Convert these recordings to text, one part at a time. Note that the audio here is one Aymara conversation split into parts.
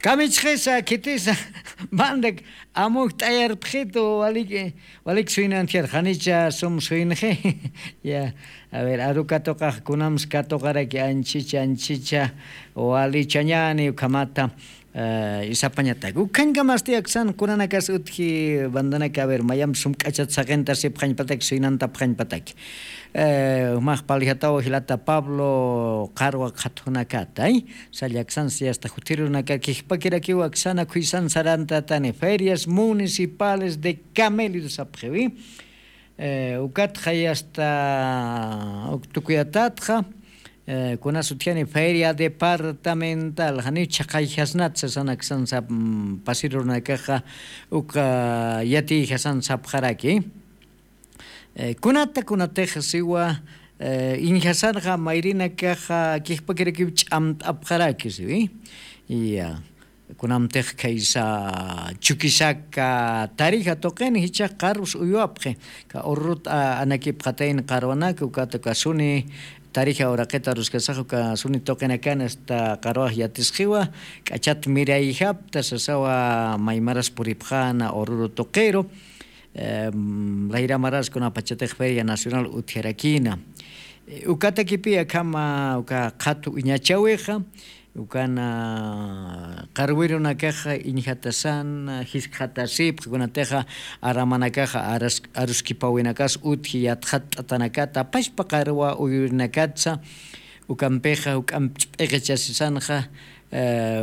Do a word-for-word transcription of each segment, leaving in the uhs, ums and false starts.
Jamichxisa khitisa, mandak amuk t'ayarpxitu. Walik walik suynantjar janicha sum suynxi. Ya. A ver, arukatuqax kunams katuqaraki anchicha anchicha walichañani ukhamata. Isapañatak ukhañkamasti aksan kunanakas utji bandanaka, a ver, mayamp sum k'achat saqintasipxañpataki suynantapxañpataki. Jumax paljataw jilata pablo qarwa qhatjunakatay. Sallaksansi asta jutirunaka kijpakirakiw aksana khuysan sarantatani ferias municipales de camelido sapxiwi. Ukatxa yasta uktukuyatatxa kunas utjani feria departamental janiw chhaqayjasnat sasan aksan sap pasirunakaxa. Uka yatiyjasan sapxaraki. Kunata kunatix siwa iñjasanxa mayrinakaxa kijpakirakiw ch'amt'apxaraki siwi. Ya. Kunamtix khaysa chukisaka tarija tuqin jichhax qarus uywapxi. Ka urrut anakipxatayna qarwanaka ukata kasuni tarija uraqita aruskasax uka suni tuqinakan asta qarwax yatisqiwa. K'achat mirayjapta sasawa maymaras puripxana ururu tuqiru. Layramaras kunapachatix feria nacional utjarakina. Ukatakipi akhama uka qhatu uñachawixa ukana qarwirunakaxa iñjatasana jiskxatasipxa kunatixa aramanakaxa aruskipawinakas utji yatxatt'atanakata apaspa qarwa uyurinakatsa. Ukampixa uk'amp ch'p'iqichasisanxa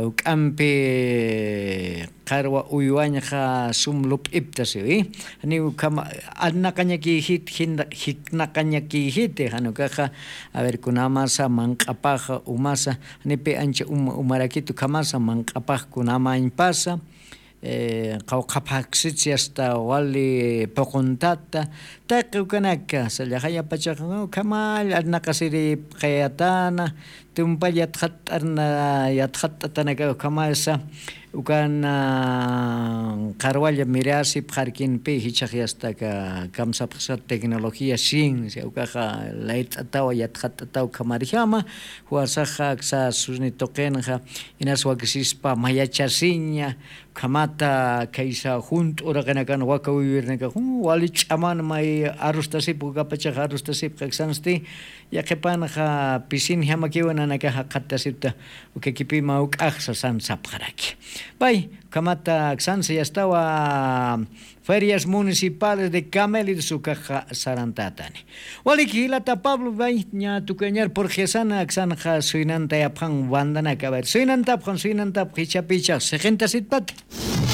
uk'ampi qarwa uywañxa sum lup'ipta siwi. Janiw ukhama arnaqañakïjit jiknaqañakïjiti jan ukaxa. A ver kunamasa manq'apaxa umasa janipi ancha uma umarakit ukhamasa manq'apax kunamañpasa qawqhaphaksitsi asta wali puquntata. Taqi ukanaka sallaxayapachaxa ukhamall arnaqasiripxayatana. Tumpall yatxatt'arna yatxatt'atanaka ukhamasa ukan qarwalla mirasipxarkinpi jichhax yastaka kamsapxsa tecnología ciencia ukaxa layt'atawa yatxatt'ataw ukhamarjama. Juwasaxa aksa suni tuqinxa inas wakisispa mayachasiña. Ukhamata khaysa junt'u uraqinakan waka uywirinakax wali ch'aman may arustasipxa ukapachaxa arustasipxa aksansti yaqhipanxa pisinjamakiwa nanakaxa qhattasipta. Ukakipima uk'axsa san sapxaraki. Pay ukhamata aksansa yastawa ferias municipales de camelidos ukaxa sarantatani. Waliki jilata pablo pay ña tukañar purxyasana aksanxa suynantayapxan bandanaka a ver suynantapxan suynantapxa ichapichax siqintasitpata.